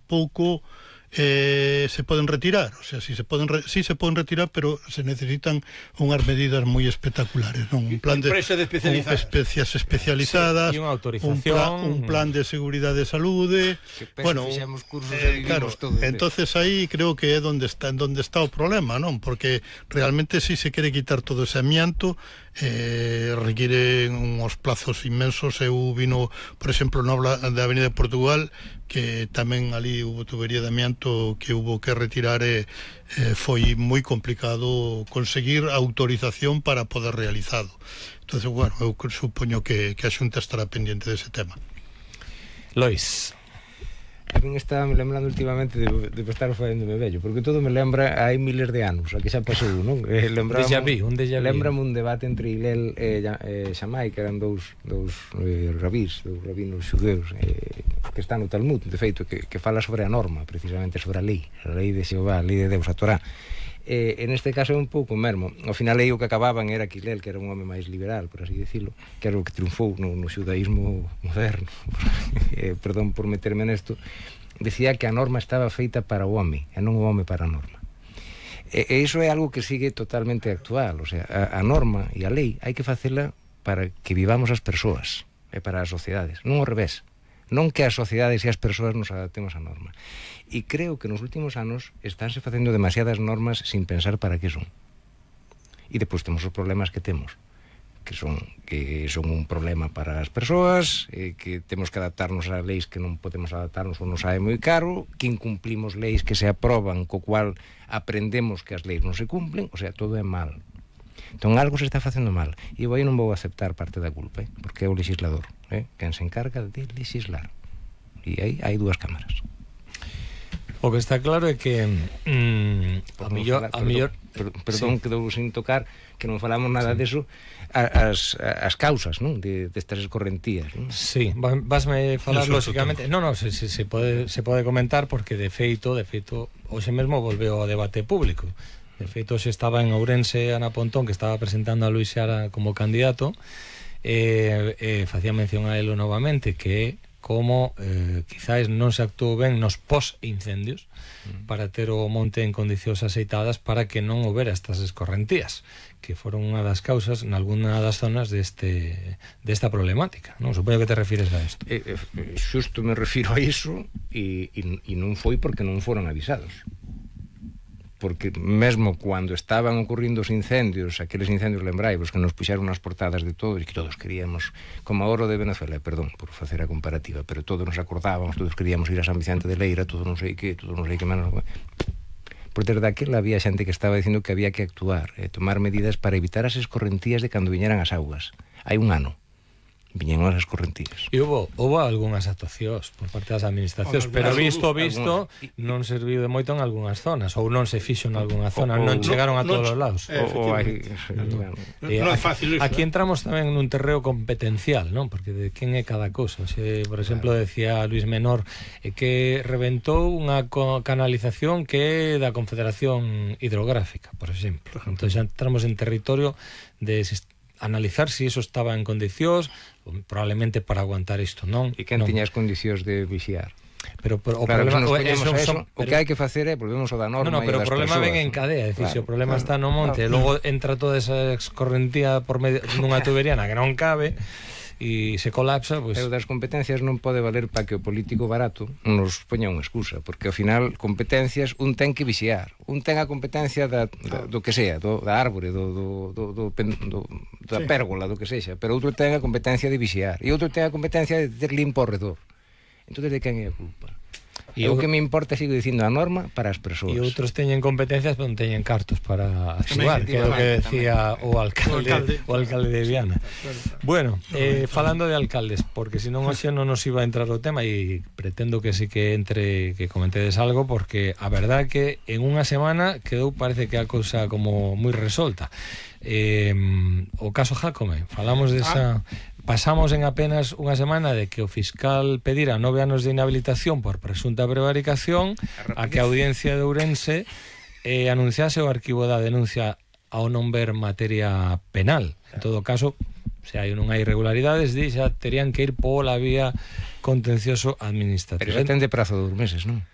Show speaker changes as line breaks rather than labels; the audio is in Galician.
tampouco se poden retirar, o sea, sí se poden retirar, pero se necesitan unhas medidas moi espectaculares, non? Un plan de especies especializadas,
sí, unha autorización,
un plan de seguridade de saúde, bueno, claro, entonces aí creo que é onde está o problema, non? Porque realmente si se quere quitar todo ese amianto, requiere uns plazos inmensos. Eu vino, por exemplo, na Avenida de Portugal, que tamén ali hubo tubería de amianto que hubo que retirar, foi moi complicado conseguir autorización para poder realizado. Entonces, bueno, eu supoño que a Xunta estará pendiente dese tema.
Lois.
A min estaba me lembrando últimamente de estar facéndome vello, porque todo me lembra hai miles de anos, a que xa pasou, non? Lembrame un debate entre Hillel e Shammai, que eran dous rabinos xudeus, que están no Talmud, de feito, que fala sobre a norma, precisamente sobre a lei de Xehová, a lei de Deus, a Torá. En este caso é un pouco mesmo. Ao final o que acababan era que Hillel, que era un home máis liberal, por así decirlo, que era o que triunfou no xudaísmo moderno, perdón por meterme nesto, decía que a norma estaba feita para o home e non o home para a norma. E iso é algo que sigue totalmente actual. O sea, a norma e a lei hai que facela para que vivamos as persoas e para as sociedades, non ao revés. Non que as sociedades e as persoas nos adaptemos á norma. E creo que nos últimos anos estánse facendo demasiadas normas sin pensar para que son. E depois temos os problemas que temos, que son un problema para as persoas, que temos que adaptarnos a leis que non podemos adaptarnos ou nos sae moi caro, que incumplimos leis que se aproban, co cual aprendemos que as leis non se cumplen, o sea, todo é mal. Entón algo se está facendo mal, e eu aí non vou aceptar parte da culpa, porque é o legislador, quen se encarga de legislar, e aí hai dúas cámaras.
O que está claro é que a mellor
perdón, quedou sin tocar, que non falamos nada deso, as causas, non, destas escorrentías, non?
Sí, vasme falar lógicamente. Non, se pode comentar, porque de feito hoxe mesmo volveu ao debate público. De feito, hoxe estaba en Ourense Ana Pontón, que estaba presentando a Luís Seara como candidato, facía mención a elo novamente, que como quizás non se actuou ben nos pos-incendios para ter o monte en condicións aceitadas para que non houbera estas escorrentías, que foron unha das causas nalgúna das zonas desta problemática, non? Supoño que te refires a isto.
Xusto me refiro a iso, e non foi porque non foron avisados. Porque mesmo cando estaban ocurrindo os incendios, aqueles incendios lembraivos que nos puxeron nas portadas de todos, e que todos queríamos, como a oro de Venezuela, perdón por facer a comparativa, pero todos nos acordábamos, todos queríamos ir a San Vicente de Leira, todo non sei que menos. Por desde aquela había xente que estaba dicindo que había que actuar, tomar medidas para evitar as escorrentías de cando viñeran as augas. Hai un ano viñeron as escorrentías.
E houve algunhas actuacións por parte das administracións, pero visto non serviu de moito en algunhas zonas, ou non se fixo en algunha zona, non chegaron a todos os lados.
Non é fácil iso.
Aquí entramos tamén nun terreo competencial, non? Porque de quen é cada cousa. Por exemplo, decía Luis Menor que reventou unha canalización que é da Confederación Hidrográfica, por exemplo. Entón xa entramos en territorio de analizar se iso estaba en condicións, probablemente para aguantar isto, non?
E quen tiña as condicións de vixiar?
Pero o
claro,
problema
o que hai que facer é volvemos ao da norma.
No, pero o problema ven en cadea, é dicir, se o problema está no monte, e logo entra toda esa escorrentía por medio nunha tubería na que non cabe e se colapsa, pois...
Pero das competencias non pode valer para que o político barato nos poña unha excusa, porque ao final competencias un ten que vixiar, un ten a competencia do que sea, da árbore, da pérgola, do que sexa, pero outro ten a competencia de vixiar e outro ten a competencia de ter limpo ao redor. Entón, de quen é a culpa? E o que me importa, sigo dicindo, a norma para as persoas.
E outros teñen competencias, pero non teñen cartos para actuar, que é o que decía o alcalde de Viana. Bueno, falando de alcaldes, porque senón hoxe non nos iba a entrar o tema, e pretendo que sí que entre, que comentedes algo, porque a verdade que en unha semana quedou, parece que a cousa como moi resolta. O caso Jácome, falamos desa... Pasamos en apenas unha semana de que o fiscal pedira 9 anos de inhabilitación por presunta prevaricación a que a Audiencia de Ourense anunciase o arquivo da denuncia ao non ver materia penal. En todo caso, se hai non hai irregularidades, xa terían que ir pola vía contencioso administrativo.
Pero xa ten de prazo de 2 meses, non?